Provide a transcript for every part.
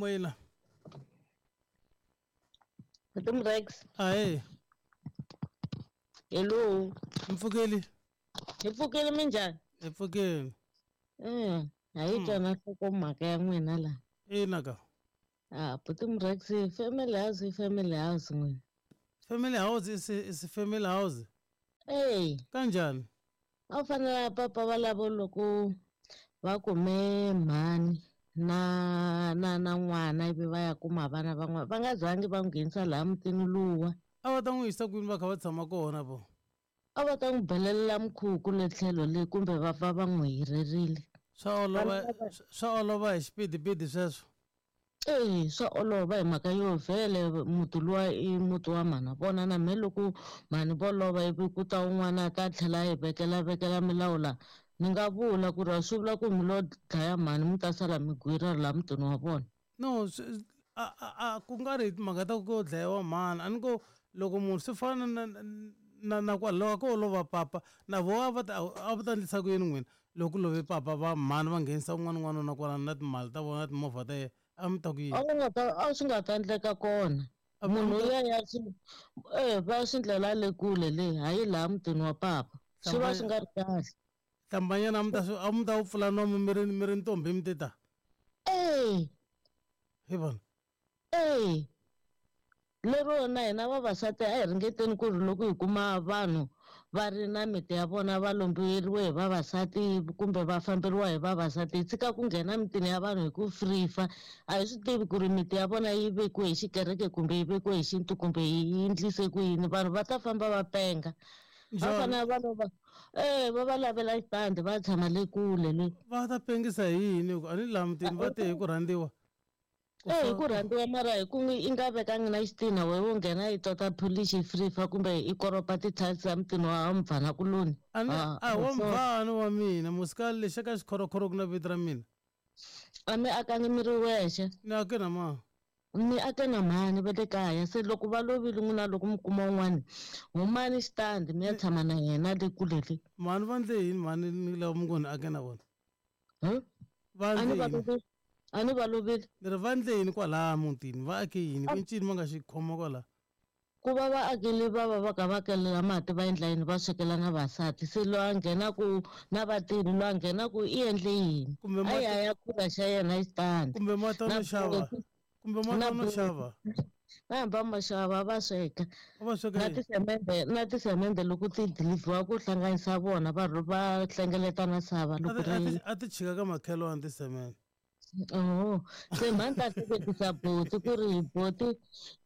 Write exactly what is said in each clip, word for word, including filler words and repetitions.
Moyeni la. Madam Rex. Ahee. Hello. Mpfukeli. Hi pfukile minjhani? Hi pfukile. Mm, a yi twa na nhlokomhaka ya n'wina laha. Ina ka. Ah, Madam Rex, family house i family house n'wina. Family house is is family house. Ey, Kanjhani? A wu fanele papa va lavo loko va kume mhani na na na n'wana ivi va ya kuma vana van'wana va nga zangi va n'wi nghenisa laha mutini luwa. A va ta n'wi yisa kwini va kha va tshama kona vo? A va ta n'wi belelela mukhuku le tlhelo le kumbe va pfa va n'wi hirerile. Swa olova swa olova hi xipidipidi sweswo. Eya, swa olova hi mhaka yo vhele muti luwa i muti wa mhana vona na mehe loko mhani vo lova ivi ku ta un'wana a ta tlhela a yi vekela vekela milawu laha ni nga vula ku ri a swi vula ku mi lo dlaya mhani mi ta sala mi gwira laha mutini wa vona. No, a a a ku nga ri timhaka ta ku dlayiwa mhani a ni ko loko munhu swi fana na na na kwalaho ko lova papa na vo a va ta a va ta endlisa ku yini n'wina loko ku love papa va mhani va nghenisa un'wana n'wanuna kwalano na timali ta vona na timovha ta yena a mi ta ku yini? A wu nga ta a swi nga ta endleka kona munhu ya ya swi eh va swi ndlela le kule le hayi laha mutini wa papa swi va swi nga ri kahle. Hlambanyana a mi ta a mi ta wu pfula nomu mi ri mi ri ntombi mi ti ta. Eh. Hi vona. Eh. Lero na hina vavasati a hi ringeteni ku ri loko hi kuma vanhu va ri na miti ya vona va lombiweriwe hi vavasati kumbe va famberiwa hi vavasati hi tshika ku nghena mitini ya vanhu hi ku frifa a hi swi tivi ku ri miti ya vona yi vekiwe hi xikereke kumbe yi vekiwe hi xintu kumbe yi endlise ku yini vanhu va ta famba va penga va fanele va lova eh va va lavela xitandi va tshama le kule le va ta pengisa hi yini a ni laha mutini va te hi ku rhandziwa. Eh hi ku rhandziwa mara hi ku i nga vekangi na xitina wehe wo nghena i tota pholishi i frifa kumbe i koropa ti-tiles ta mutini wa mubvana kuloni. A ni a wa mubvana wa mina musikali lexi ka xikhorokhoro ku na vito ra mina. A mi akangi mi ri wexe. Ni ake na mani. Mi ake na mhani va le kaya se loko va lovile n'wina loko mi kuma un'wana humani xitandi mi ya tshama na yena le kule le. Mhani va ndle yini mhani ni lava mi ngo ni ake na vona? Va ndle yini? A ni va lovile. Ni ri va ndle yini kwalaha mutini va ake yini ku ncini va nga xi khoma kwalaha? Ku va va akile va va va ka va kelela mati va endla yini va swekela na vasati se loyi a nghenaku na vatirhi loyi a nghenaku i endle yini a ya ya khura xa yena xitandi kumbe mati no xava kumbe mati no xava va hamba ma xava va sweka va sweka na tisemende na tisemende loko ti deliver ku hlanganisa vona va va hlengeleta na sava loko ri a ti chika ka makhelwani tisemende. Oh, se mhani ta hleketisa boti ku ri boti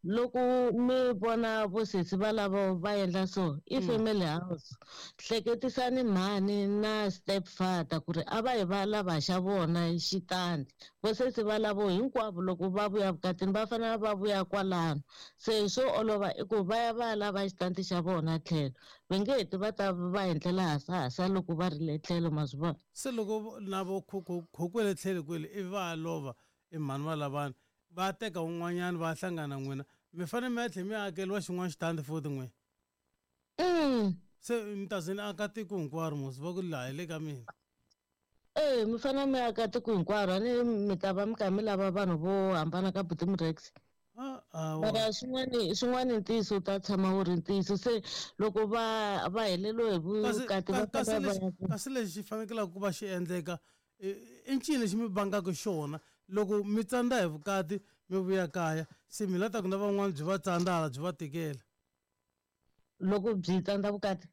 loko mi vona vosesi va lava va endla so i family house hleketisani mhani na step father ku ri a va hi va lava xa vona xitandi vosesi va lavo hinkwavo loko va vuya vukatini va fanele va vuya kwalano se swo olova i ku va ya va ya lava xitandi xa vona tlhelo va nge heti va ta va endlela hasahasa loko va ri le tlhelo ma swi vona. Se loko na vo khokwele tlhelo kwele i va lova i mhani va lavana va teka un'wanyana va hlangana n'wina mi fanele mi ya tlhela mi akeriwa xin'wana xitandi futhi n'wina. Se mi ta ze ni aka tiko hinkwaro mos va ku laha hi le ka mina. Eh mi fanele mi aka tiko hinkwaro a ni mi ta va mi kha mi lava vanhu vo hambana ka Buti Rex. Mara swin'wana swin'wana ntiyiso wu ta tshama wu ri ntiyiso se loko va va heleriwe hi vukati va kasi lexi xi fanekelaka ku va xi endleka i ncini lexi mi vangaka xona loko mi tsandza hi vukati mi vuya kaya se mi la ta ku na van'wana byi va tsandzala byi va tikela. Loko byi tsandza vukati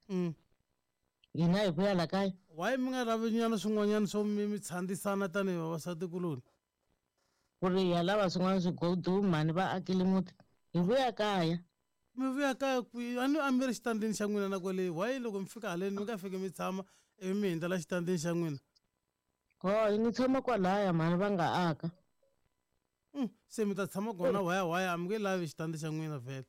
hina hi vuya la kaya. Why mi nga lavi nyana swin'wanyana swo mi mi tshandisana tanihi vavasati kuloni? Ku ri hi ya lava swin'wana swigodo mhani va akile muti hi vuya kaya. Mi vuya kaya kwihi? A ni a mi ri xitandini xa n'wina na kwale why loko mi fika haleni mi nga fiki mi tshama ivi mi hundzela xitandini xa n'wina? Oh, ni tshama kwalaya mhani va nga aka. Se mi ta tshama kona waya waya a mi nge lavi xitandi xa n'wina vhele.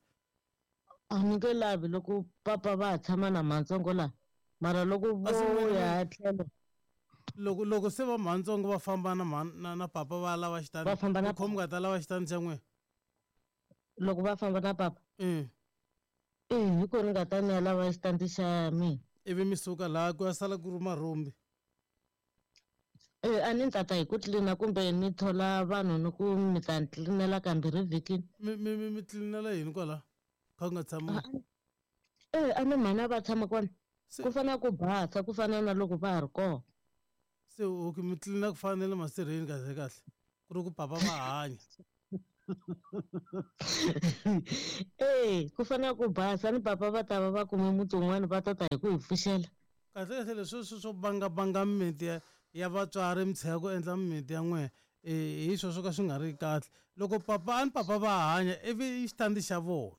A mi nge lavi loko papa va ha tshama na mhantsongo laha mara loko vo ya tlhelo loko loko se va mhantsongo va famba na na na papa va lava xitandi va famba na khomi nga ta lava xitandi xa n'wina loko va famba na papa eh eh hi ko ni nga ta ni ya lava xitandi xa mina ivi mi suka laha ku ya sala ku ri marhumbi. Eh a ni tata hi ku tlilina kumbe ni thola vanhu ni ku mi ta ni tlilinela kambirhi vhikini. Mi mi mi mi tlilinela yini kwala? Kha ku nga tshami. Eh a ni mhana va tshama kona. Ku fana ku basa ku fana na loko va ha ri kona. Se okay mi tlilina ku fana na le masirheni kahle kahle. Ku ri ku papa va hanya. Eh ku fana ku basa ni papa va ta va va kume muti wun'wana va ta ta hi ku hi pfuxela. Kahle kahle leswi swo swo banga banga mimiti ya ya vatswari mi tshika ku endla mimiti ya n'wina hi swona swo ka swi nga ri kahle. Loko papa a ni papa va hanya ivi i xitandi xa vona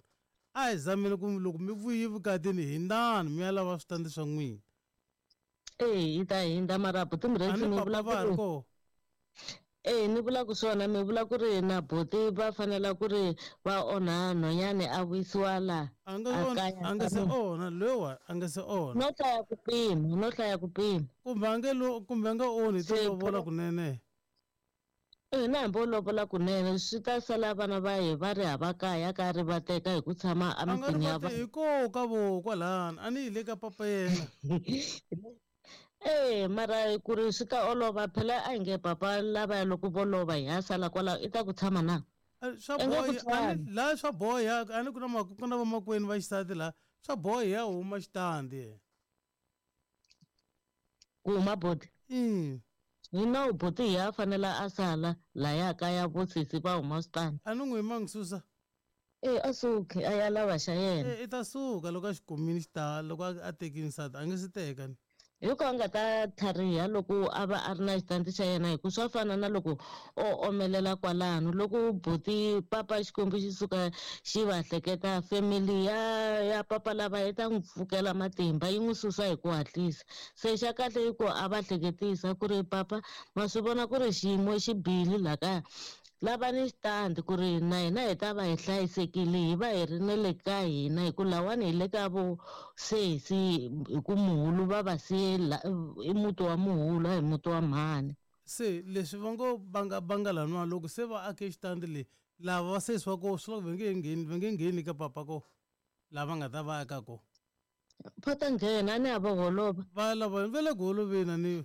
a hi zameni ku loko mi vuyi vukatini hindzani mi ya lava switandi swa n'wina. Eh hi ta hindza mara buti Murexi ni vula va ha ri kona. Eh ni vula ku swona mi vula ku ri na buti va fanela ku ri va onha nhwanyana a vuyisiwa la. A nga a nga se onha lowa a nga se onha. No hlaya ku pima no hlaya ku pima. Kumbe a nge lo kumbe a nga onhi to lovola kunene. Eh na hambi o lovola kunene swi ta sala vana va hi va ri hava kaya ka ri va teka hi ku tshama emitini ya va. Hi ko ka vo kwalano a ni yi le ka papa yena. Eh mara ku ri swi ta olova phela a hi nge papa lava loko vo lova hi ya sala kwalaho i ta ku tshama na. Swa boha laha swa boha a ni ku na ku na vamakwenu va xisati laha swa boha ya huma xitandi. Ku huma boti? Mm. Hi nawu boti hi ya fanela a sala laya kaya vo sesi va huma switandi. A ni n'wi mangi susa. Eh a suki a ya lava xa yena. Eh i ta suka loko a xi kumile xitandi loko a tekile nsati a nge se teka ni. Hi ku a nga ta tlhariha loko a va a ri na xitandi xa yena hi ku swa fana na loko o omelela kwalano loko buti papa Xikwembu xi suka xi va hleketa family ya ya papa lava yi ta n'wi pfukela matimba yi n'wi susa hi ku hatlisa. Se xa kahle i ku a va hleketisa ku ri papa ma swi vona ku ri xiyimo xi bihile laha kaya lava ni xitandi ku ri na hina hi ta va hi hlayisekile hi va hi ri na le ka hina hi ku lawani hi le ka vo sesi hi ku muhulu va va siye i muti wa muhulu a hi muti wa mhani. Se leswi va ngo banga banga laniwa loko se va ake xitandi leyi lava va sesi wa ko swi loko va nge ngheni va nge ngheni ka papa ko lava nga ta va aka ko. Va ta nghena a ni a va holova. Va lava va le ku holoveni a ni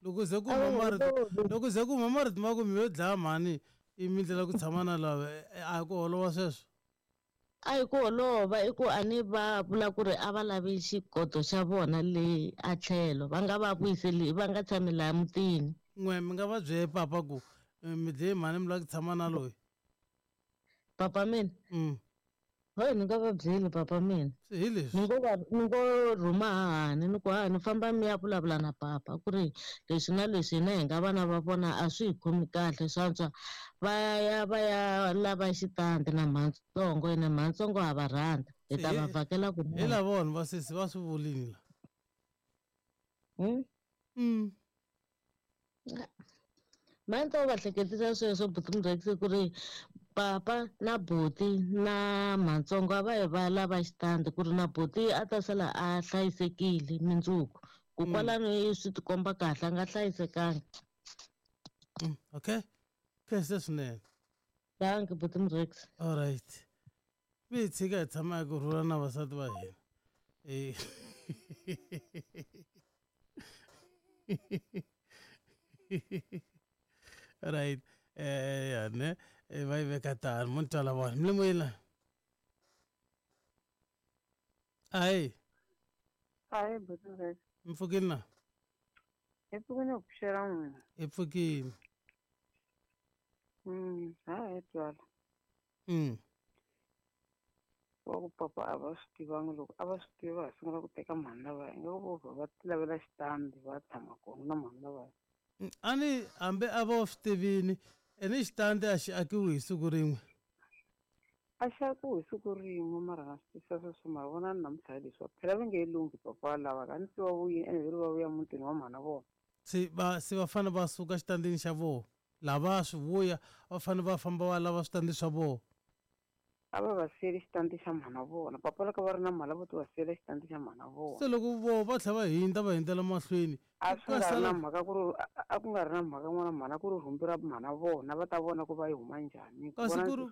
loko ze ku huma marito loko ze ku huma marito ma ku mi yo dlaya mhani i mi ndlela ku tshama na lava a hi ku holova sweswo. A hi ku holova i ku a ni va vula ku ri a va lavi xigodo xa vona le a tlhelo va nga va vuyiseli va nga tshami laha mutini. N'we mi nga va byele papa ku mi dlaye mhani mi lava ku tshama na loyi. Papa mina? Mm. Hayi ni nga va byeli papa mina. Hi leswi. Ni ngo va ni ngo rhuma hahani ni ku hahani famba mi ya vulavula na papa ku ri leswi na leswi hina hi nga vana va vona a swi hi khomi kahle swa antswa va ya va ya lava xitandi na mhantsongo ene mhantsongo ha va rhandza hi ta va vhakela kunene. Hi lava vanhu va sesi va swi vulini la. Hmm? Mm. Mhani va hleketisa sweswo buti Murexi ku ri papa na buti na mhantsongo a va yi va lava xitandi ku ri na buti a ta sala a hlayisekile mindzuku ku kwalano swi tikomba kahle a nga hlayisekanga. Okay. Kahle swinene. Dankie buti Murexi. All right. Mi hi tshika hi tshama hi ku rhula na vasati va hina. Eh. Right. Eh ya ne va yi veka tano mo ni twala vona mi le moyeni la. Ayi. Ayi buti Murexi. Mi pfukile na? Hi pfukile ku pfuxela n'wina. Hi pfukile. Mm, ha hi twala. Mm. Wa ku papa a va swi tivangi loko a va swi tiva va sungula ku teka mhani lavaya ingaku vo va ti lavela xitandi va tshama kona na mhani lavaya. A ni hambi a va swi tivini ene xitandi a xi akiwi hi siku rin'we. A xi akiwi hi siku rin'we mara na swi twisisa sweswo mara vona ni namuntlha hi leswiwa phela va nge he lunghi papa lava ka ni se va vuyile ene ve ri va vuya mutini wa mhana vona. Se va se va fanele va suka xitandini xa vona lava swi vuya va fanele va famba va lava switandi swa vona. A va va siyele xitandi xa mhana vona papa loko va ri na mali vo ti va siyela xitandi xa mhana vona. Se loko vo va tlhela va hindza va hindzela mahlweni a swi nga ri na mhaka ku ri a ku nga ri na mhaka n'wana mhana ku ri rhumbi ra mhana vona va ta vona ku va yi huma njhani. Kasi ku ri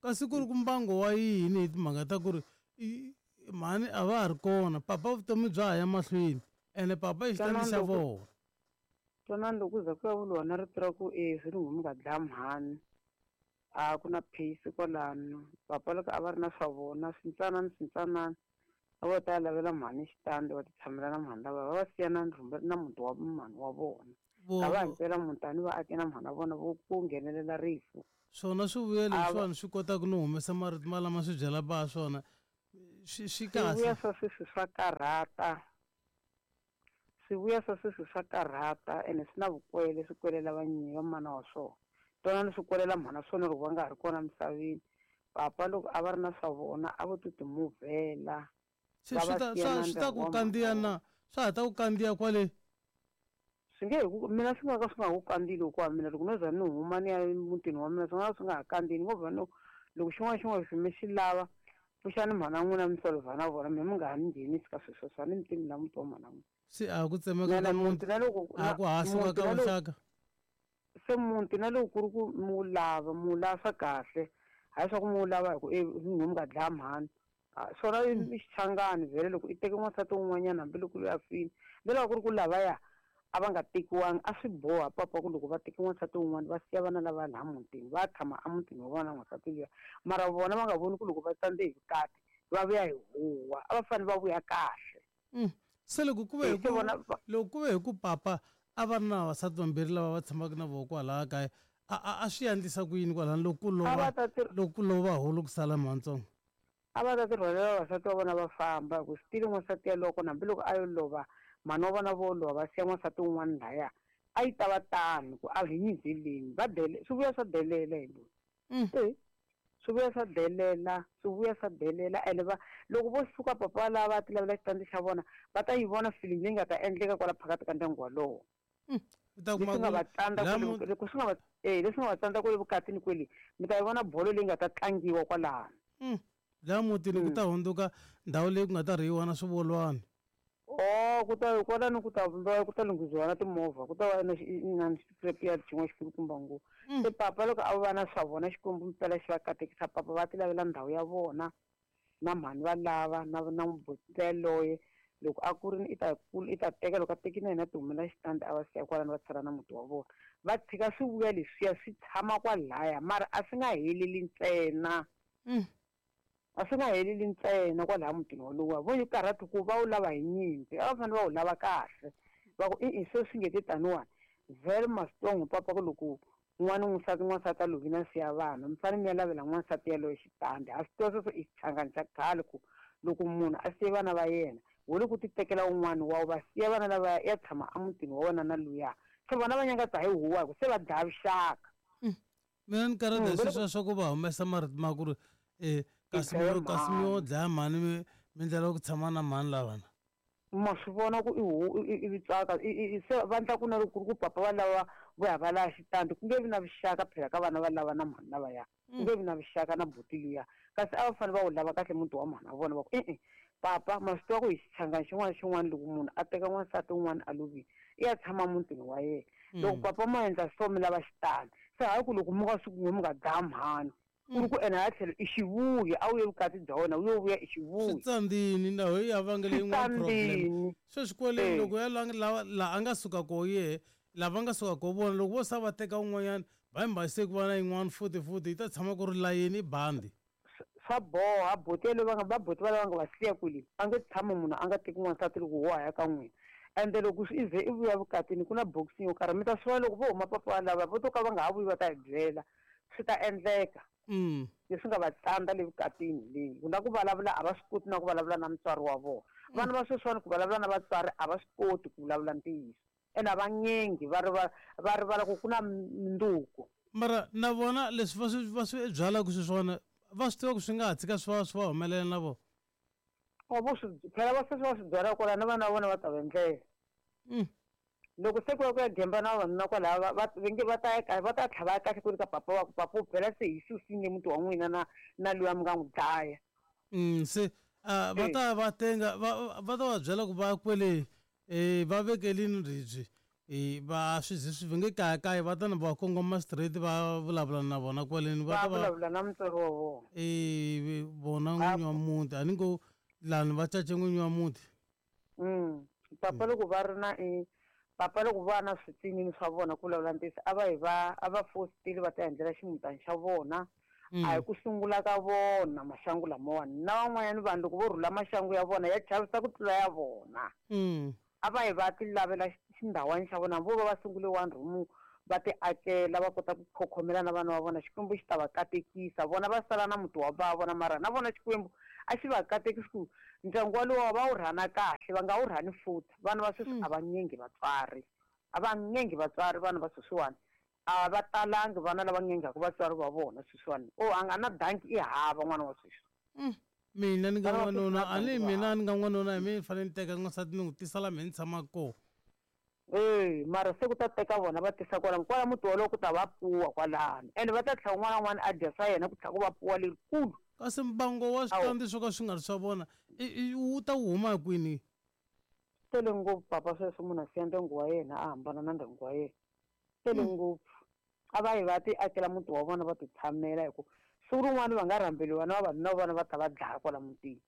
kasi ku ri ku mbango wa yini hi timhaka ta ku ri mhani a va ha ri kona papa vutomi bya ha ya mahlweni ene papa i xitandi xa vona. Twanani loko ku za ku ya vuriwa na rito ra ku e swi ni mi nga dlaya mhani a ku na peace kwalano. Papa loko a va ri na swa vona swintsanana swintsanana a vo ta lavela mhani xitandi va ti tshamela na mhani lava va va siya na rhumba na muti wa mhani wa vona. A va himpela mutani va ake na mhani wa vona vo ku nghenelela rifu. Swona swivuya leswiwani swi kotaka no humesa marito malama swi byela ba swona swi swi kahle. Swivuya swa sweswi swa karhata. Swivuya swa sweswi swa karhata ene swi na vukwele swi kwelela vanyinyi va mana wa swona. Twanani swi kwelela mhana swona loko va nga ha ri kona misaveni. Papa loko a va ri na swa vona a vo ti timuvhela. Se swi ta swi ta ku kandziya na swa ha ta ku kandziya kwale. Swi nge ku mina swi nga ka swi nga ku kandziyeli hikuva mina loko no za ni huma ni ya emutini wa mina swi nga ka swi nga ha kandziyi ni ngo vha no loko xin'wana xin'wana xi mi xi lava pfuxani mhana n'wina mi solvha na vona mina mi nga ha ni nghenisi ka swilo sweswo a ni mi tivi na muti wa mhana n'wina. Se a ku tsemeka ka muti na loko a ku hasuka ka vuxaka. Se muti na loko ku ri ku mi wu lava mi wu lava swa kahle hayi swa ku mi wu lava hi ku e mi nga dlaya mhani. Swona i xichangani vhele loko i teke n'wansati wun'wanyana hambiloko loyi a file ni lava ku ri ku lavaya a va nga tekiwangi a swi boha papa ku loko va teke n'wansati wun'wana va siya vana lava laha mutini va tshama emutini wa vona n'wansati luya mara vona va nga voni ku loko va tsandze hi vukati va vuya hi huwa a va fanele va vuya kahle. Se loko ku ve hi ku loko ku ve hi ku papa a va ri na vavasati vambirhi lava va tshamaka na vona kwalaya kaya a a a swi endlisa ku yini kwalano loko ku lova loko ku lova hulu ku sala mhantsongo. A va ta ti rhwalela vavasati va vona va famba hi ku swi n'wansati yaloko hambiloko a yo lova mhani wa vona vo lova va siya n'wansati wun'wana laya a yi ta va tano ku a hi nyinzeleni va dele swi vuya swa delela hi loyi. E swi vuya swa delela swi vuya swa delela ene va loko vo suka papa lava va ti lavela xitandi xa vona va ta yi vona feeling leyi nga ta endleka kwala phakathi ka ndyangu walowo. Leswi nga va tsandza loko swi nga va e leswi nga va tsandza kwale vukatini kwele mi ta yi vona bolo leyi nga ta tlangiwa kwalano. Laha mutini ku ta hundzuka ndhawu leyi ku nga ta rhiyiwa na swivolwana. Oh ku ta kwalano ku ta vumbiwa ku ta lunghisiwa na timovha ku ta va na na xipirapiyadi xin'wana xikulukumba ngopfu. Se papa loko a va na swa vona Xikwembu mpela xi va katekisa papa va ti lavela ndhawu ya vona na mhani va lava na na mubuti yaloye loko a kurini i ta i ta teka loko a tekile yena ti humela xitandi a va siya kwalano va tshala na muti wa vona va tshika swivuya leswiya swi tshama kwalaya mara a swi nga heleli ntsena. A swi nga heleli ntsena kwalaya mutini wolowo vo yi karhati ku va wu lava hi nyimpi a va fanele va wu lava kahle va ku i se swi nge te taniwani very strong papa ku loko n'wana n'wansati n'wansati a lovile a siya vana mi fanele mi ya lavela n'wansati yaloye xitandi a swi tiva sweswo i xichangani xa khale ku loko munhu a siye vana va yena wo le ku ti tekela un'wana wa va siya vana lava ya tshama emutini wa wena na luya se vona va nyangatsa hi huwa hi ku se va dlaya vuxaka. Mina ni karhata hi sweswiya swa ku va humesa marito ma ku ri e kasi mi kasi mi yo dlaya mhani mi mi ndlela ku tshama na mhani lavana. Ma swi vona ku i hu i tsaka se va endla ku na loko ku ri ku papa va lava vo ya va lava xitandi ku nge vi na vuxaka phela ka vana va lava na mhani lavaya ku nge vi na vuxaka na buti luya kasi a va fanele va wu lava kahle muti wa mhani wa vona va ku e-e papa ma swi tiva ku hi xichangani xin'wana na xin'wana loko munhu a teka n'wansati wun'wana a lovile i ya tshama mutini wa yena loko papa ma endla so mi lava xitandi se hayi ku loko mi nga swi ku mi nga dlaya mhani ku ri ku ene hala tlhelo i xivuyi a wu ye vukati bya wena wu yo vuya i xivuyi. Swi tsandzini ndhawu yi ya vangele yin'wana problem sweswi kwale loko ya lava laha a nga suka koho yehe lava nga suka koho vona loko vo sa va teka un'wanyana va yi se ku va na yin'wana futhi futhi yi ta tshama ku ri layeni i bandi. Swa boha buti yaleyo va nga va buti va lava nga va siya kwele a nge tshami munhu a nga teki n'wansati loko wo ha ya ka n'wina ende loko i ze i vuya vukatini ku na boxing yo karhi mi ta swi vona loko vo huma papa lava vo to ka va nga ha vuyi va ta hi byela swi ta endleka. Leswi nga va tsandza le vukatini leyi ku na ku vulavula a va swi koti na ku vulavula na mutswari wa vona vana va sweswiwani ku vulavula na vatswari a va swi koti ku vulavula ntiyiso ene a va nyengi va rivala va rivala ku ku na minduku. Mara na vona leswi va swi va swi byalaka sweswiwani va swi tiva ku swi nga ha tshika swi va swi va humelela na vona. Vo swi phela va sweswi va swi byala kwala na vana va vona va ta va endlela. Loko se ku ya ku ya gemba na vavanuna kwalaya va va nge va ta ya va ta tlhava kahle ku ri ka papa wa ku papa u phela se hi susile muti wa n'wina na na luya mi nga n'wi dlaya. Se va ta va tenga va va ta va byela ku va kwele e va vekelini ribye e va swi ze swi nge kayakaya va ta na va kongoma straight va vulavula na vona kwaleni va ta va vulavula na mutswari wa vona e vona n'winyi wa muti a ni ngo lani va cace n'winyi wa muti. Papa loko va ri na i Papa loko va na switsinini swa vona ku vulavula ntiyiso a va hi va a va fositile va ta endlela ximutana xa vona. A hi ku sungula ka vona maxangu lamawani na van'wanyana vanhu loko vo rhula maxangu ya vona ya chavisa ku tlula ya vona. A va hi va ti lavela xindhawani xa vona vo va va sungule one room va ti akela va kota ku khokhomela na vana va vona Xikwembu xi ta va katekisa vona va sala na muti wa va vona mara na vona Xikwembu a xi va katekisi ku ndyangu walowo va wu rhana kahle va nga wu rhani futhi vana va sweswi a va nyengi vatswari a va nyengi vatswari vana va sweswiwani a va talangi vana lava nyengaka vatswari va vona sweswiwani o a nga na danki i hava n'wana wa sweswi. Mina ni nga n'wanuna a ni mina ni nga n'wanuna hi mina ni fanele ni teka n'wansati ni n'wi tisa la mehe ni tshamaka kona. E mara se ku ta teka vona va tisa kwala kwala muti wolowo ku ta va puwa kwalano ende va ta tlhela un'wana na un'wana a dya swa yena ku tlhela ku va puwa lerikulu. Kasi mbango wa switandi swo ka swi nga ri swa vona wu ta wu huma kwini? Tele ngopfu papa sweswo munhu a siya ndyangu wa yena a hambana na ndyangu wa yena. Tele ngopfu a va yi va ti akela muti wa vona va ti tshamela hi ku siku rin'wana va nga rhambeliwa na vavanuna va vona va ta va dlaya kwala mutini.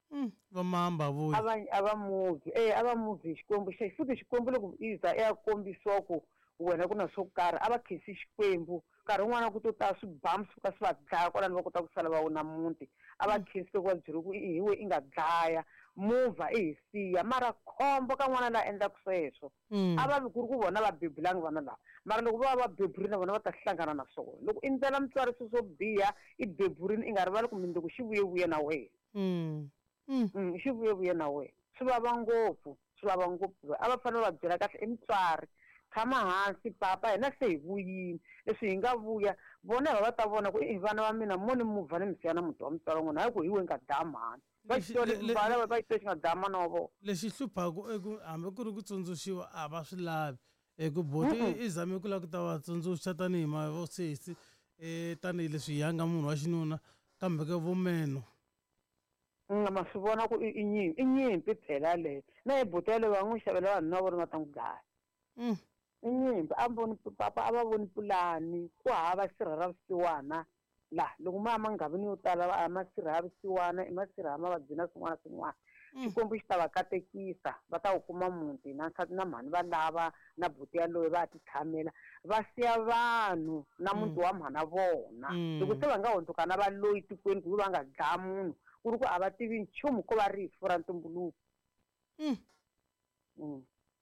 Va mamba vuyi. A va a va muvi e a va muvi Xikwembu xa futhi Xikwembu loko i za i ya kombisiwa ku wena ku na swo karhi a va khensi Xikwembu nkarhi wun'wana ku to ta swibamu swi ka swi va dlaya kwalano va kota ku sala va wuna muti a va khensi loko va byeriwe ku i hi we i nga dlaya movha i hi siya mara khombo ka n'wana la endlaka sweswo a va vi ku ri ku vona va bebulangi vana lava mara loko va va beburini na vona va ta hlangana na swona loko i ndlela mutswari swilo swo biha i beburini i nga rivali ku mundzuku xi vuyevuye na wena xi vuyevuye na wena swi vava ngopfu swi vava ngopfu a va fanele va byela kahle i mutswari tshama hansi papa hina se hi vuyini leswi hi nga vuya vona va va ta vona ku i vana va mina mo ni muvha ni mi siya na muti wa mutswari wa n'wina hayi ku hi we nga dlaya mhani va xitole va xitole xi nga dlaya mana wa vona. Lexi hluphaka i ku hambi ku ri ku tsundzuxiwa a va swi lavi hi ku buti i zame ku lava ku ta va tsundzuxa tanihi mavosesi tanihileswi hi ya nga munhu wa xinuna kambe ke vumeno. Nga ma swi vona ku i nyimpi i nyimpi phela yaleyo na hi buti yaleyo va n'wi xavela vanhu na vona va ta n'wi dlaya. I nyimpi a voni papa a va voni pulani ku hava sirha ra vusiwana laha loko ma ya manghavini yo tala a masirha ya vusiwana i masirha ya mavabyi na swin'wana na swin'wana. Xikwembu xi ta va katekisa va ta wu kuma muti na nsati na mhani va lava na buti yaloye va ti tshamela va siya vanhu na muti wa mhana vona loko se va nga hundzuka na valoyi tikweni ku va nga dlaya munhu ku ri ku a va tivi nchumu ko va rifu ra ntumbuluko.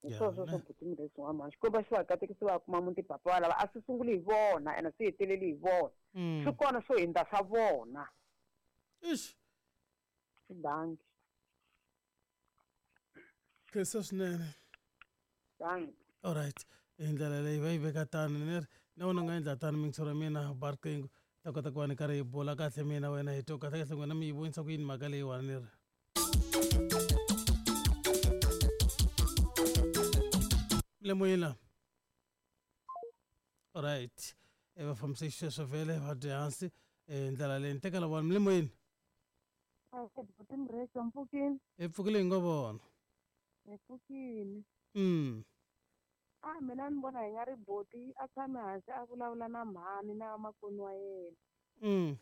Hi swona swo buti murhesi wa mhani Xikwembu xi va katekisi va kuma muti papa wa lava a swi sunguli hi vona ene swi heteleli hi vona swi kona swo hundza swa vona. Ixi swi dangi. Khensa swinene. Dangi. Alright hi ndlela leyi va yi veka tano ni ri na wena u nga endla tano mintshoro ya mina ba riqingho ta kota ku va ni karhi hi bula kahle mina wena hi twa kahle kahle n'wina mi yi vonisa ku yini mhaka leyiwani ni ri. Le moyeni la. Alright e va fambise xisweswo vhele va dya hansi ndlela leyi ni teka lavona mi le moyeni. Hi pfukile hi ngo vona. Hi pfukile. Mm. A mina ni vona hi nga ri buti a tshame hansi a vulavula na mhani na vamakweni wa yena. Mm.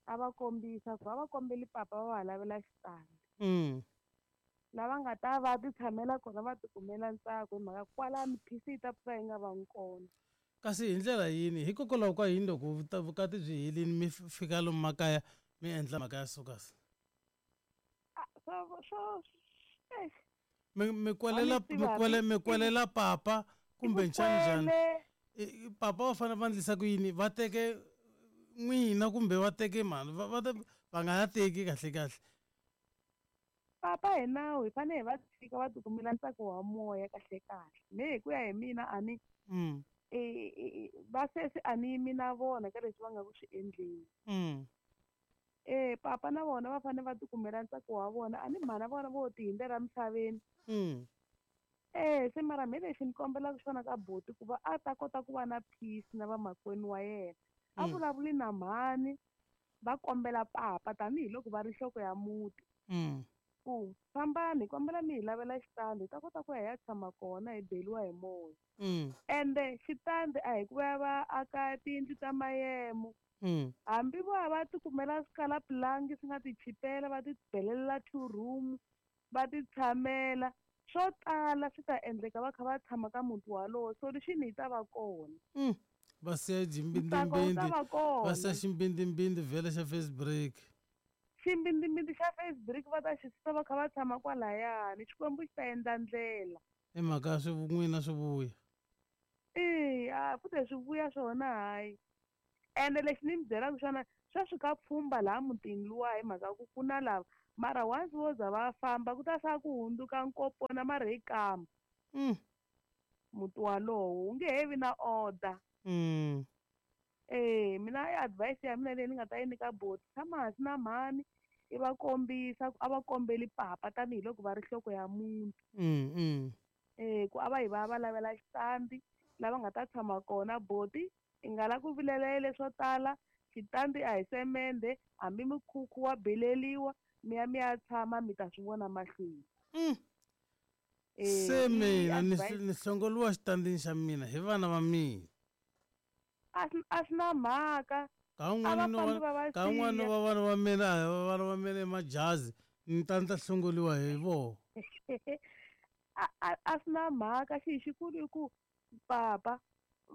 A va kombisa ku va va kombeli papa va va lavela xitandi. Mm. Lava nga ta va ti tshamela kona va tikumela ntsako hi mhaka kwalano phisi yi ta pfuka yi nga vangi kona. Kasi hi ndlela yini hikokwalaho ka yini loko vukati byi helini mi fika lomu makaya mi endla mhaka ya sukasi? Swo swo mi mi kwelela mi kwele mi kwelela papa kumbe njhani njhani papa va fanele va endlisa ku yini va teke n'wina kumbe va teke mani va va va nga ya teki kahle kahle. Papa hi nawu hi fanele hi va tshika va tikumela ntsako wa moya kahle kahle me hi ku ya hi mina a ni va sesi a ni yimi na vona ka leswi va nga ku swi endleni. E papa na vona va fanele va tikumela ntsako wa vona a ni mhana vona vo ti hundzela misaveni. E se mara me lexi ni kombelaka xona ka buti ku va a ta kota ku va na peace na vamakwenu wa yena a vulavuli na mhani va kombela papa tanihiloko va ri nhloko ya muti. Ku fambani hi kombela mi hi lavela xitandi hi ta kota ku ya hi ya tshama kona hi beliwa hi moya. Ende xitandi a hi ku va va aka tiyindlu ta mayemo. Hambi vo va tikumela swikalapulangi swi nga ti chipela va ti belelela two room va ti tshamela Swo tala swi ta endleka va kha va tshama ka muti walowo, solution yi ta va kona. Mm. Va siya Ntsako wu ta ximbindimbindi, va va siya kona. ximbindimbindi vhele xa face break. Ximbindimbindi xa face break va ta xi susa va kha va tshama kwalayani, Xikwembu xi ta endla ndlela. I mhaka ya swi n'wina swi vuya. Eya, futhe swi vuya swona hayi. Ende lexi ni mi byelaka xona, sweswi ka pfhumba laha mutini luwa hi mhaka ku ku na lava, mara once vo za va famba ku ta sala ku hundzuka nkopona mara hi kamba. Mm. Muti walowo wu nge he vi na order. Mm. Eh, mina i advice ya mina leyi ni nga ta yi nyika boti, tshama hansi na mhani i va kombisa ku a va kombeli papa tanihiloko va ri nhloko ya muti. Mm, mm. Eh, ku a va yi va ya va lavela xitandi lava nga ta tshama kona. Boti i nga la ku vilela leswo tala, xitandi a hi semende, hambi mikhukhu wa beleliwa, mi ya mi ya tshama mi ta swi vona mahlweni. Mm. Eh, Se i mina ni advice ni hlongoliwa xitandini xa mina hi vana va mina. A swi a swi na mhaka. Ka A un'wana va no fambi va va va ka un'wana siya. wa vana va mina, a hi vana va mina i majazi, ni ta ni ta hlongoliwa hi vona. A a a swi na mhaka, xi xikulu i ku papa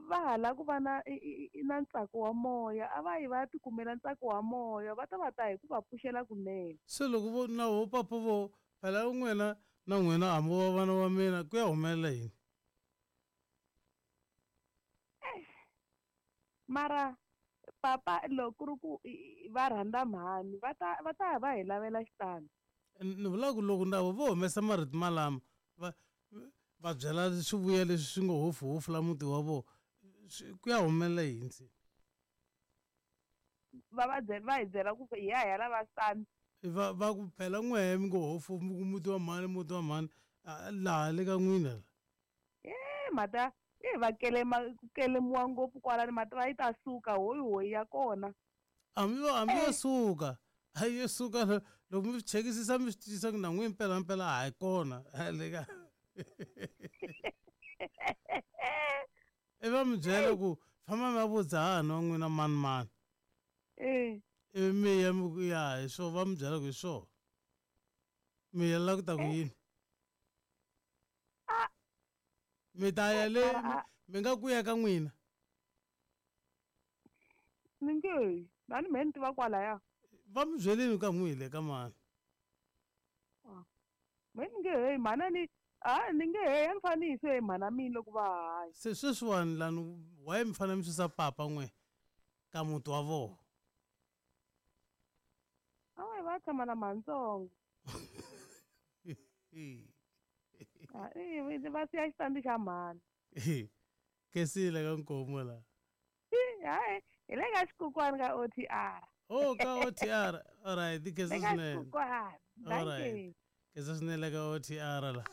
va ha lava ku va na i i i na ntsako wa moya, a va yi va ya tikumela ntsako wa moya, va ta va ta hi ku va pfuxela kunene. Se loko vo na vo papa vo phela n'wina na n'wina hambi wa vana va mina ku ya humelela yini? Mara papa loko ku ri ku va rhandza mhani va ta va ta va hi lavela xitandi. Ni vula ku loko ndavo vo humesa marito malama va va byela swivuya leswi swi ngo hofuhofu la muti wa vona, ku ya humelela yini se? Va va byela va hi byela ku hi ya hi ya lava xitandi. Va va ku phela n'wehe mi ngo hofu mi ku muti wa mhani muti wa mhani laha le ka n'wina la. E mhata e va kelema ku kelemiwa ngopfu kwalani, mhata va yi ta suka hoyi hoyi ya kona. Hambi va hambi yo suka, a yo suka loko mi swi chekisisa mi swi twisisa ku na n'wina mpela mpela a hi kona le ka. I va mi byela ku famba mi ya vutisa hahani wa n'wina mani mani. Eh. Ivi mi ya mi ku ya hi swona, va mi byela ku hi swona. Mi ya la ku ta ku yini? Mi ta ya le mi nga ku ya ka n'wina? Ni nge, na ni mehe ni tiva kwalaya. Va mi byelini ka n'wi le ka mani? Mehe ni nge he mhana ni a ni nge he a ni fanele ni yisiwe hi mhana mina loko va hanya. Se sweswiwani lani why mi fanele mi susa papa n'we ka muti wa vona? A va yi va tshama na mhanitsongo. Va siya xitandi xa mhani. Kesile ka Nkomo la. Hayi, hi le ka xikukwani ka O T R. Oh, ka O T R. All right, kesa Le ka swinene. xikukwani. All right. Dankie. Kesa swinene ka O T R la.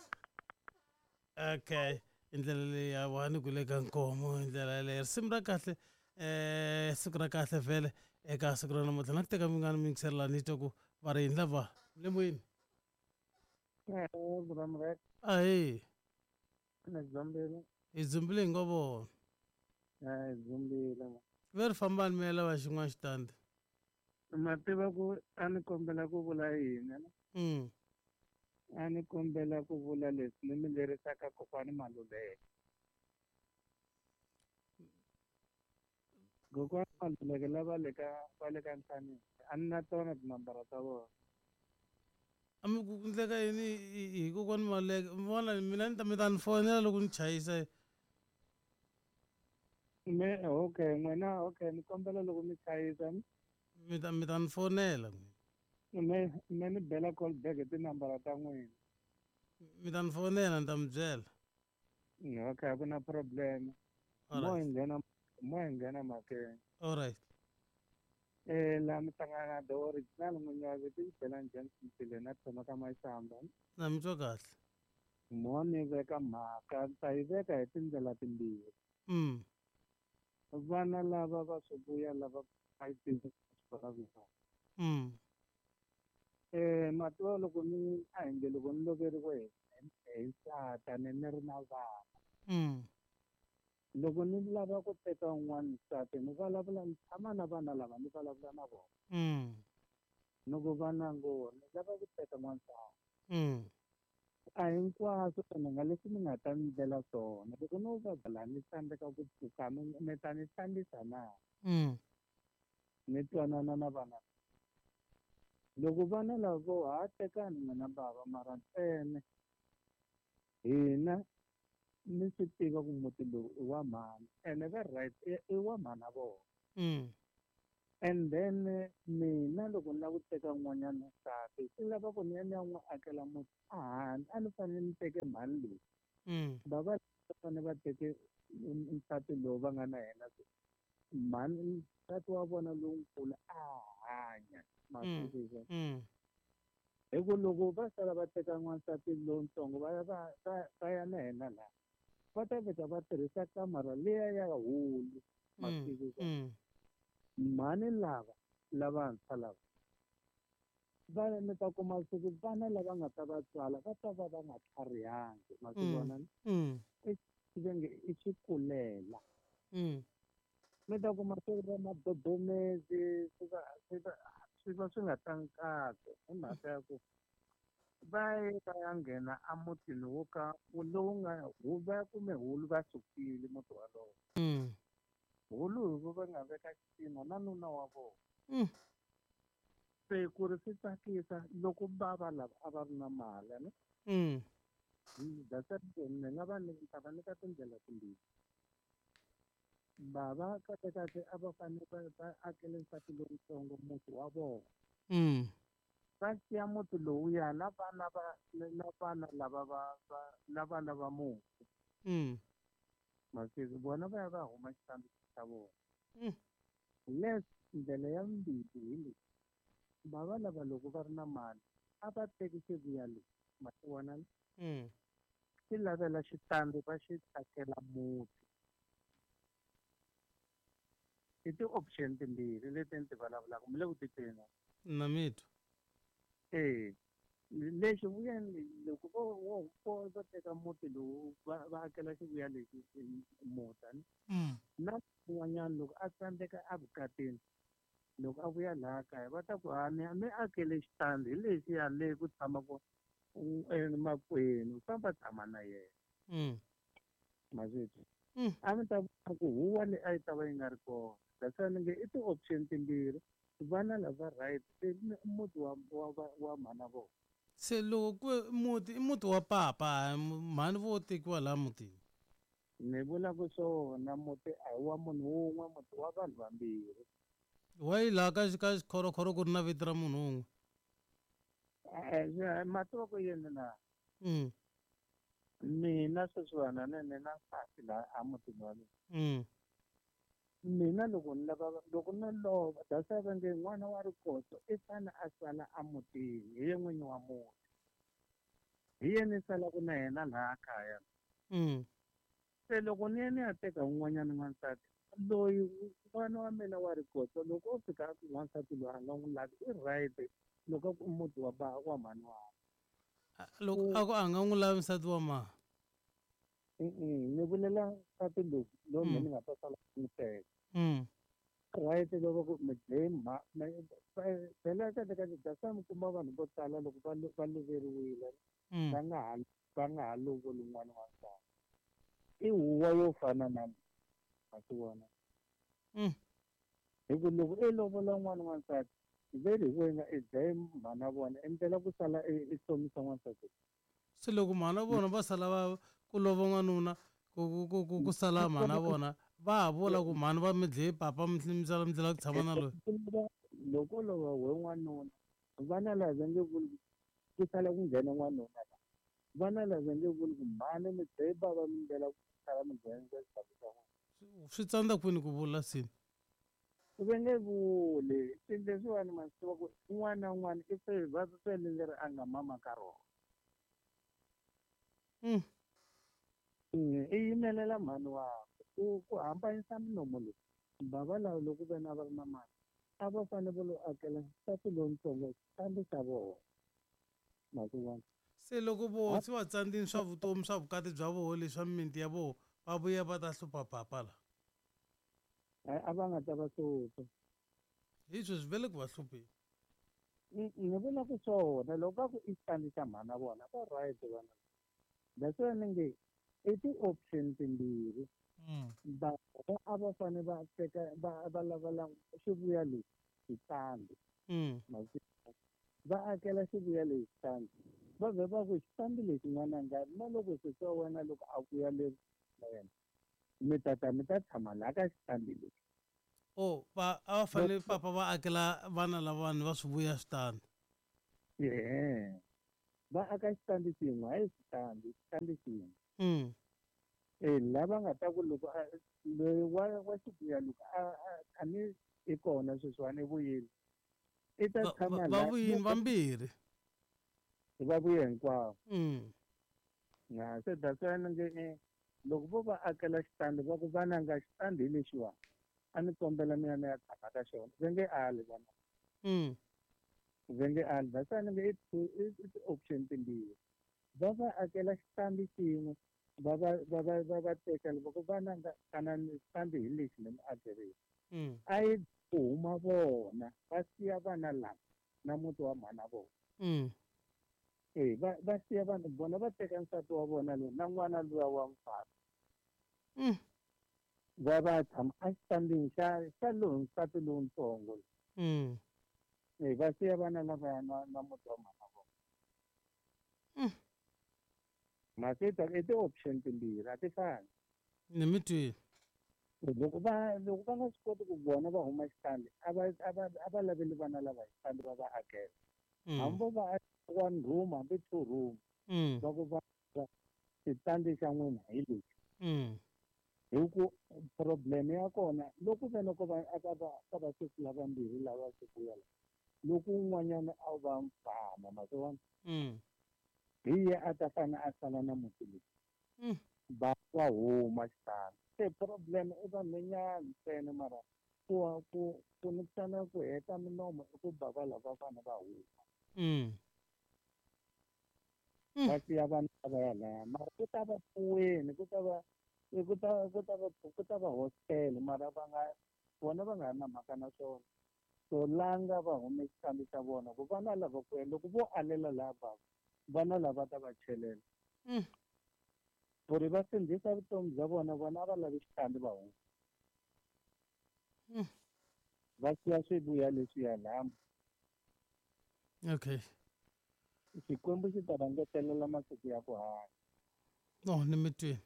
Okay, hi ndlela leyi ya wani ku le ka Nkomo hi ndlela yaleyo. Risimu ra kahle, eh siku ra kahle vhele eka siku ra namuntlha. Na ku teka mi nga ni yingisela ni twa ku va ri yini lava le moyeni. Ahee. Ni dzumbile. Hi dzumbile hi ngo vona. Eh, hi dzumbile. Ve ri fambani mi ya lava xin'wana xitandi. Ma tiva ku a ni kombela ku vula yini? Mm. A ni kombela ku vula leswi ni mi lerisaka kokwani Maluleke. Kokwani Maluleke lava le ka va le ka Nhlanisi, a ni na tona tinambara ta vona. A mi ku endleka yini hi kokwani Maluleke? Mi vona mina ni ta mi ta ni fonela loko ni chayisa. Me okay, n'wina okay, ni kombela loko mi chayisa. Mi ta mi ta ni fonela. Me me ni bela call back hi tinambara ta n'wina. Mi ta ni fonela ni ta mi byela. Okay, a ku na problem. All Mo hi right. nghena mo hi nghena mhakeni. All right. Eh, laha mi hlangana na the original n'winyi wa vito i Belani Johnson Mpile na tshama ka Mashamba. Na mi twa kahle. Mo ni veka mhaka, ni ta yi veka hi tindlela timbirhi. Mm. Vana lava va swi vuya lava va yi tivi swi Mm. Eh, ma tiva loko ni a hi nge loko ni loveriwe hi hi nsati ni ni ri na vana. Mm. Loko ni lava ku teka un'wana nsati ni vulavula ni tshama na vana lava ni vulavula na vona. Mm. Ni ku vana ngo ni lava ku teka n'wansati. Mm. A hinkwaswo ene nga leswi mi nga ta ni ndlela swona loko no vabya laha ni tsandzeka ku pfuka mi mi ta ni hlambisa na Mm. ni twanana na vana loko vana lavo ha tekani n'wina bava mara ntsena hina ni swi tiva ku muti lowu i wa mhani ene va right i i wa mhana vona Mm. and then mina loko ni lava ku teka n'wanyana nsati swi lava ku ni ya ni ya n'wi akela muti a handle a ni fanele ni teke mhani leyi Mm. bava va fanele va teke nsati lowu va nga na yena mhani nsati wa vona lonkulu a hanya ma swi Mm. twisisa Mm. hi ku loko va sala va teka n'wansati lowuntsongo va ya va va va ya na yena laha va ta fika va tirhisa kamara liya ya hulu ma Mm. twisisa Mm. mhani lava lavantshwa lava va mi ta kuma siku vana lava nga ta va tswala va ta va va nga tlharihangi ma swi Mm. vona Mm. va nge i xikulela Mm. mi ta kuma swi va madodomezi swi va swi va swi va swi nga tlangi kahle hi mhaka ya ku va ye va ya nghena emutini wo ka lowu nga hu va kume hulu va sukile muti walowo Mm. hulu hi vo va nga veka xitina na nuna wa vona Mm. se ku ri swi tsakisa loko bava lava a va ri na mali a ni Mm. that's why ni nga va ni ta va nyika tindlela timbirhi bava kahle kahle a va fanele va va akele nsati lowutsongo muti wa vona Mm. va siya muti lowuya na vana va na vana lava va va na vana va mufi Mm. masiku vona va ya va huma xitandi xa vona Mm. les ndlela ya vumbirhi hi leyi bava lava loko va ri na mali a va teki xivuya leyi ma swi vona Mm. xi lavela xitandi va xi akela muti i ti-option timbirhi leti ni ti vulavulaka mi le ku titweni na? Na mi twa. E lexi vuyeni loko vo vo vo vo teka muti lowu va va akela xivuya lexi muti ni Mm. na un'wanyana loko a tsandzeka evukatini loko a vuya laha kaya va ta ku ha ni mi akele xitandi hi lexiya le ku tshamaka makwenu famba tshama na yena Mm. ma swi twa Mm. a mi ta vona ku huwa leyi a yi ta va yi nga ri kona that's why ni nge i ti-option timbirhi vana lava right i muti wa wa wa wa mhana vona Se loko ku muti i muti wa papa mhani vo tekiwa laha mutini. ni vula ku swona muti a hi wa munhu wun'we muti wa vanhu vambirhi Why laha ka ka xikhorokhoro ku ri na vito ra munhu wun'we? Eh, ma tiva ku yini na Mm. mina sweswiwani ni ni na nsati laha emutini wa mina Mm. mina loko ni lava loko no lova that's why va nge n'wana wa rikoto i fane a sala emutini hi ye n'winyi wa muti hi ye ni salaka na yena laha kaya Mm. se loko ni ya ni ya teka un'wanyana n'wansati loyi n'wana wa mina wa rikoto loko o fika a ku n'wansati loyi a nga n'wi lavi i right loko a ku i muti wa ba wa mhani wa Loko a ku a nga n'wi lavi nsati wa mhani. ni vulela nsati lowu lowu Mm. mina ni nga ta sala n'wi teka Mm. right loko ku mi dlaye mha phela kahle kahle that's why mi kuma vanhu vo tala loko va lo- va loveriwile Mm. va nga ha va nga ha lovoli n'wana wa nsati i huwa yo fana na leyi ma swi vona Mm. hi ku loko i lovola n'wana wa nsati veri hi wena i dlaye mhana vona i ndlela ku sala i i hlomisa n'wansati Se loko mhana vona va sala va ku lova n'wanuna ku ku ku ku ku sala mhana vona va ha vula ku mhani va mi dlaye papa mi mi sala mi tlhela ku tshama na loyi. loko lova we n'wanuna vana lava va nge vuli ku sala ku nghena n'wanuna la vana lava va nge vuli ku mhani mi dlaye bava mi ndlela ku sala mi nghena xitandi xa n'wana Swi tsandza kwini ku vula sini? va nge vuli swilo leswiwani ma swi tiva ku un'wana na un'wana i va fele leri a nga mama ka rona Mm. i yimelela mhani wakwe ku ku hambanyisa milomo leyi bava lava loko vena va ri na mali a va fanele va lo akela nsati lowuntsongo xitandi xa vona ma swi vona Se loko voho se va tsandzini swa vutomi swa vukati bya voho leswa mimiti ya voho va vuya va ta hlupha papa la. a va nga ta va hlupha Hi sweswi va le ku va hlupheni. ni vula ku swona loko va ku i xitandi xa mhana vona va right vana That's why ni nge i ti-option timbirhi. Mm. Va a va fanele va teka va va lava xivuya lexi xitandi. Mm. Va akela xivuya lexi xitandi. Va vhe va ku xitandi lexi n'wananga na loko sesi wa wena loko a vuya le na yena mi ta ta mi ta tshama laha ka xitandi lexi. Oh, va a va fanele papa va akela vana lavawani va swi vuya switandi. Yeah. Va aka xitandi xin'we hayi xitandi, xitandi xin'we. Mm. Eh lava nga ta ku loko loyi wa wa xivuya loko a a ni i kona sweswiwani i vuyile. I ta tshama va vuyini vambirhi. Va vuye hinkwavo. Mm. Na se that's why ni nge loko vo va akela xitandi va ku vananga xitandi hi lexiwani a ni kombela mina ni ya tshama ka xona va nge ali vana. Mm. Va nge ali that's why ni nge i ti-option timbirhi. Va va akela xitandi xin'we va va va va va va teka loko vananga tanani xitandi hi lexi ni mi akerile. Mm. A yi ku huma vona va siya vana lava na muti wa mhana vona. Mm. Eh va va siya vanhu vona va teka nsati wa vona loyi na n'wana luya wa mfana. Mm. Va va tshama exitandini xa xa lowu nsati lowutsongo. Mm. Eh va siya vana lavaya na na muti wa mhana vona. Mm. Masita i ti-option timbirhi a ti fani. Ni mi twile. Loko va loko va nga swi koti ku vona va huma xitandi a va a va a va laveli vana lava xitandi va va akela. Hambi vo va one room hambi two room. Mm. Va ku va xitandi xa n'wina hi lexi. Mm. Hi ku problem ya kona loko ve loko va aka va ka va sesi lavambirhi lava swi vuya la loko un'wanyana a va mfana ma swi vona. Mm. Hi ye a ta fana a sala na muti lowu. Mm. Va va huma xitandi. Se problem i vanhwanyana ntsena mara ku ku ku nikisana ku heta minomo i ku ba va lava vana va huma. Mm. Va siya vana lava ya laya mara ku ta va pfuweni ku ta va ku ta ku ta va ku ta va hostel mara va nga vona va nga ri na mhaka na swona. So langa va hume xitandi xa vona ku vana lava ku ya loko vo alela laha bava vana lava ta va chelela. Mm. Ku ri va sindzisa vutomi bya vona vona a va lavi xitandi va huma. Mm. Va siya swivuya leswiya laha. Okay. Xikwembu xi ta va ngetelela masiku ya ku hanya. No, ni mi twile.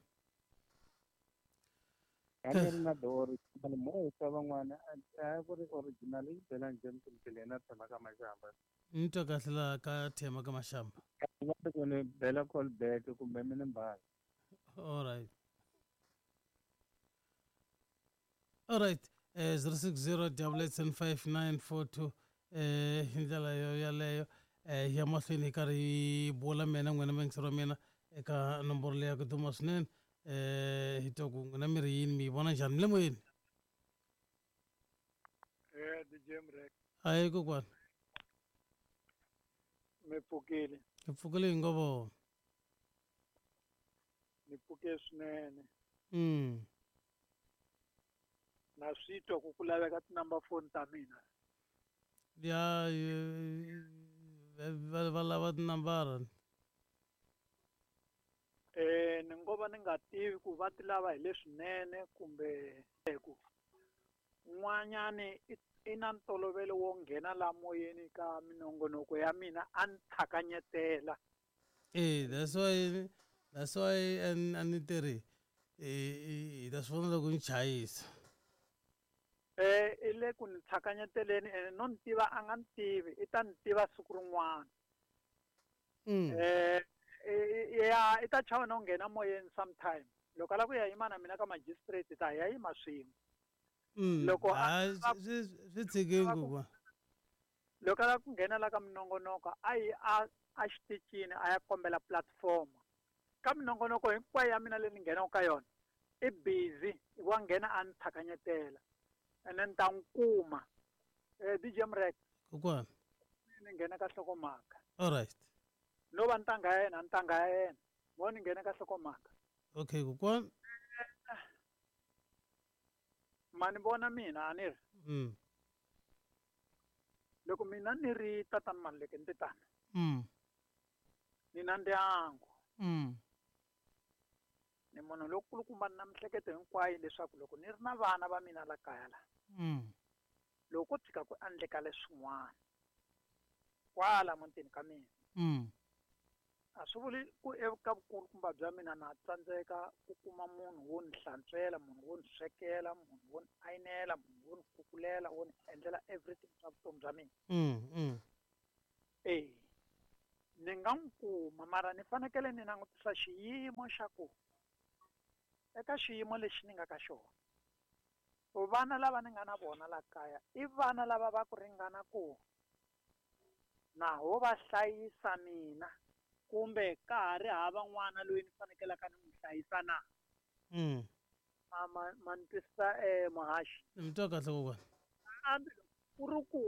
A ni ri na the original mo sa van'wana a ku ri original yi bela njhani kumbe na tshama ka Mashamba. Ni twa kahle laha ka Thema ka Mashamba. Va ti ku ni bela call back kumbe mi ni mbala. All right. All right. Eh zero six zero double eight seven five nine four two eh hi ndlela yo yaleyo eh ya mahlweni hi karhi hi bula mina n'wina muyingiseri wa mina eka nomboro leyi ya ku duma swinene eh hi twa ku n'wina mi ri yini mi yi vona njhani mi le moyeni. Eh D J Mrek. Hayi kokwana. Mi pfukile. Hi pfukile hi ngo vona. Ni pfuke swinene. Mm. Na swi twa ku ku laveka ti-number phone ta mina. Ya va va lava tinambara. Eh ni ngo va ni nga tivi ku va ti lava hi leswinene kumbe ku n'wanyani i na ntolovelo wo nghena la moyeni ka minongonoko ya mina a ni tlhakanyetela. Eh that's why that's why a ni tirhi eh hi ta swi vona loko ni chayisa. Eh i le ku ni tlhakanyeteleni ene no ni tiva a nga ni tivi i ta ni tiva siku rin'wana. Mm. Eh ya i ta chava no nghena moyeni sometime loko a lava ku ya yima na mina ka magistrate ta ya yima swin'we. Mm. Loko a swi swi tshikeni kokwana. Loko a lava ku nghena la ka minongonoko a yi a a xitichini a ya kombela platform. Ka minongonoko hinkwayo ya mina leyi ni nghenaka ka yona i busy wa nghena a ni tlhakanyetela ene ni ta n'wi kuma. Eh D J Mrek. Kokwana. Ni nghena ka nhlokomhaka. All right. No va ntanga ya yena ntanga ya yena mo ni nghena ka nhlokomhaka. Okay kokwana. Ma ni vona mina a ni ri. Mm. Loko mina ni ri tatana Maluleke ni titana. Mm. Ni na ndyangu. Mm. Ni munhu lokulukumba ni na mihleketo hinkwayo leswaku loko ni ri na vana va mina la kaya la. Mm. Loko ko tshika ku endleka leswin'wana kwala mutini ka mina. Mm. A swi vuli ku eka vukulukumba bya mina na tsandzeka ku kuma munhu wo ni hlantswela, munhu wo ni swekela, munhu wo ni ayinela, munhu wo ni kukulela, wo ni endlela everything swa vutomi bya mina. Mm, mm. Eh. Ni nga n'wi kuma mara ni fanekele ni langutisa xiyimo xa ku eka xiyimo lexi ni nga ka xona. Vana lava ni nga na vona la kaya i vana lava va ku ringana ku na ho va hlayisa mina kumbe ka ha ri hava n'wana loyi ni fanekelaka ni n'wi hlayisa na. Mm. Ma, ma, ma ni twisisa eh muhaxi. Ni mi twa kahle kokwana. Kambe ku ri ku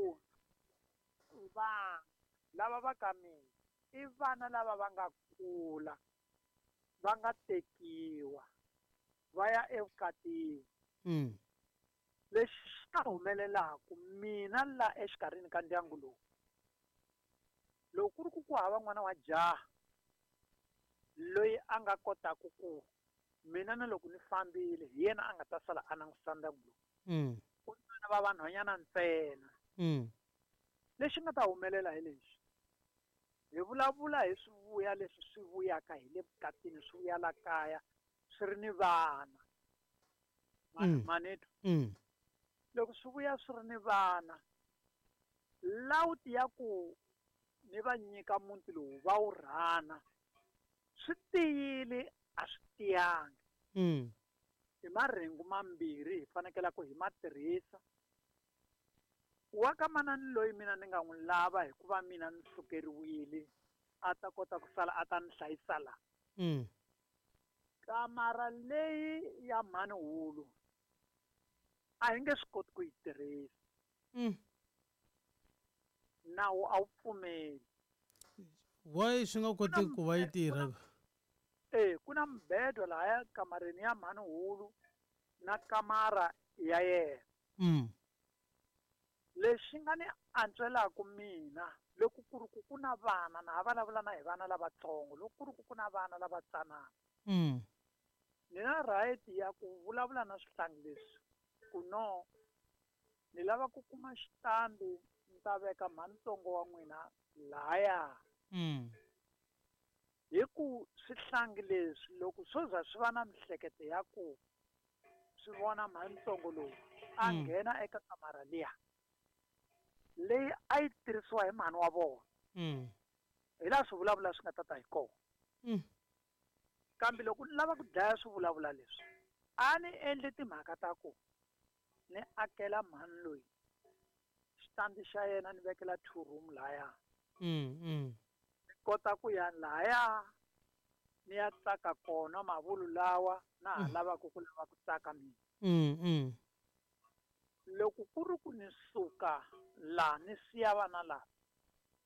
vana lava va ka mina i vana lava va nga kula va nga tekiwa va ya evukatini. Mm. Lexi xi ta humelelaku mina la exikarhini ka ndyangu lowu loko ku ri ku ku hava n'wana wa jaha loyi a nga kotaka ku mina na loko ni fambile hi yena a nga ta sala a langutisa ndyangu lowu. Mm. Ku ni vana va vanhwanyana ntsena. Mm. Lexi nga ta humelela hi lexi hi vulavula hi swivuya leswi swi vuyaka hi le vukatini swi vuya la kaya swi ri ni vana. Mm. Manito. Mm. Loko swi vuya swi ri ni vana lawuti ya ku ni va nyika muti lowu va wu rhana swi tiyile a swi tiyangi. Mm. Hi marhengu mambirhi hi fanekele ku hi ma tirhisa. Wa ka manani loyi mina ni nga n'wi lava hikuva mina ni sukeriwile a ta kota ku sala a ta ni hlayisa la. Mm. Kamara leyi ya mhani hulu a hi nge swi koti ku yi tirhisa. Mm. Nawu a wu pfumeli. Why swi nga koti ku va yi tirha? Eh, ku na mbedo lahaya kamareni ya mhani hulu na kamara ya yena. Mm. Lexi nga ni antswelaka mina loko ku ri ku ku na vana na ha vulavula na hi vana lavatsongo loko ku ri ku ku na vana lavatsanana. Mm. Ni na right ya ku vulavula na swihlangi leswi ku no ni lava ku kuma xitandi ni ta veka mhanitsongo wa n'wina lahaya. Mm. Hi ku swihlangi leswi loko swo za swi va na mihleketo ya ku swi vona mhanitsongo lowu a Mm. nghena eka kamara liya leyi a yi tirhisiwa hi mhani wa vona. Mm. Hi laha swi vulavula swi nga ta ta hi kona. Mm. Kambe loko ni lava ku dlaya swivulavula leswi a ni endli timhaka ta ku ni akela mhani loyi xitandi xa yena ni vekela two room lahaya. Mm, mm. Ni kota ku ya lahaya ni ya tsaka kona mavulu lawa na ha Mm. lavaka ku lava ku tsaka mina. Mm, mm. Loko ku ri ku ni suka laha ni siya vana lava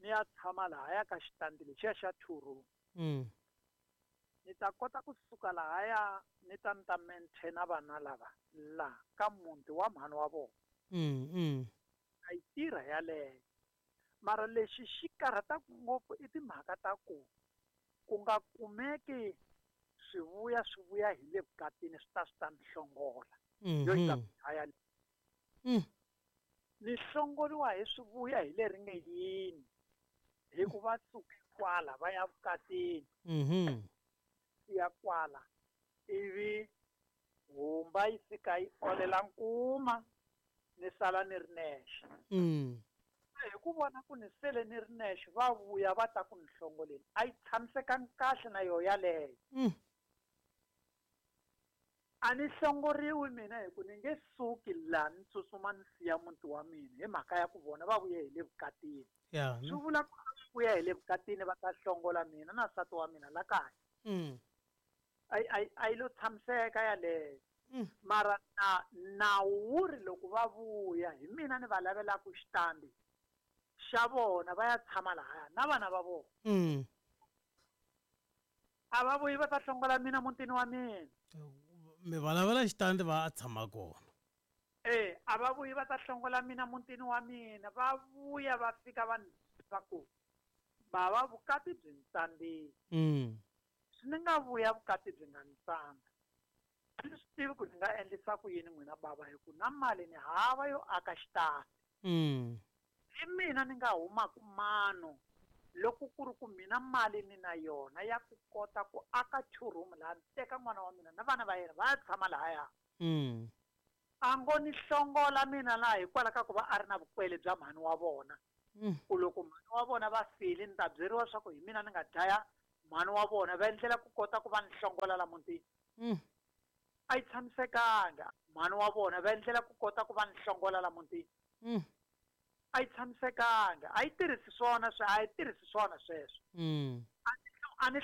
ni ya tshama lahaya ka xitandi lexiya xa two room. Mm. Ni ta kota ku suka lahaya ni ta ni ta maintaina vana lava la ka muti wa mhani wa vona. Mm, mm. A yi tirha yaleyo. Mara lexi xi karhataka ngopfu i timhaka ta ku ku nga kumeki swivuya swi vuya hi le vukatini swi ta swi ta ni hlongola. Yo yi ta Mhm. dlaya leyi. Mm. Ni hlongoriwa hi swivuya hi leri nge yini hikuva suke kwala va ya vukatini. Mhm. Ya kwala ivi humba yi fika yi olela nkuma ni sala ni ri nexe. Mm. Hi ku vona ku ni sele ni ri nexe va vuya va ta ku ni hlongoleni a yi tshamisekanga kahle na yoho yaleyo. Mm. A ni hlongoriwi mina hi ku ni nge suki laha ni tsutsuma ni siya muti wa mina hi mhaka ya ku vona va vuye hi le vukatini. Yeah, Swi no? vula ku va vuya hi le vukatini va ta hlongola mina na nsati wa mina la kaya. Mm. A yi, a yi, a yi lo tshamiseka yaleyo. Mm. Mara na nawu wu ri loko va vuya hi mina ni va lavelaka xitandi xa vona va ya tshama lahaya na vana va vona. Mm. A va vuyi va ta hlongola mina mutini wa mina. Mi va lavela xitandi va tshama kona. Eh, a va vuyi va ta hlongola mina mutini wa mina, va vuya va fika va ni va ku bava vukati byi ni tsandzile. Mm. Swi ni nga vuya vukati byi nga ni tsandza. ni swi tivi ku ni nga endlisa ku yini n'wina bava hi ku na mali ni hava yo aka xitandi. Mm. Hi mina ni nga humaku mano loko ku ri ku mina mali ni na yona ya ku kota ku aka two room laha ni teka n'wana wa mina na vana va yena va ya tshama lahaya. Mm. A ngo ni hlongola mina laha hikwalaho ka ku va a ri na vukwele bya mhani wa vona. Mm. Ku loko mhani wa vona va file ni ta byeriwa swa ku hi mina ni nga dlaya mhani wa vona va endlela ku kota ku va ni hlongola la mutini. Mm. A yi tshamisekanga. Mhani wa vona va endlela ku kota ku va ni hlongola la mutini. Mm. A yi tshamisekanga. A yi tirhisi swona a yi tirhisi swona sweswo. Mm. A ni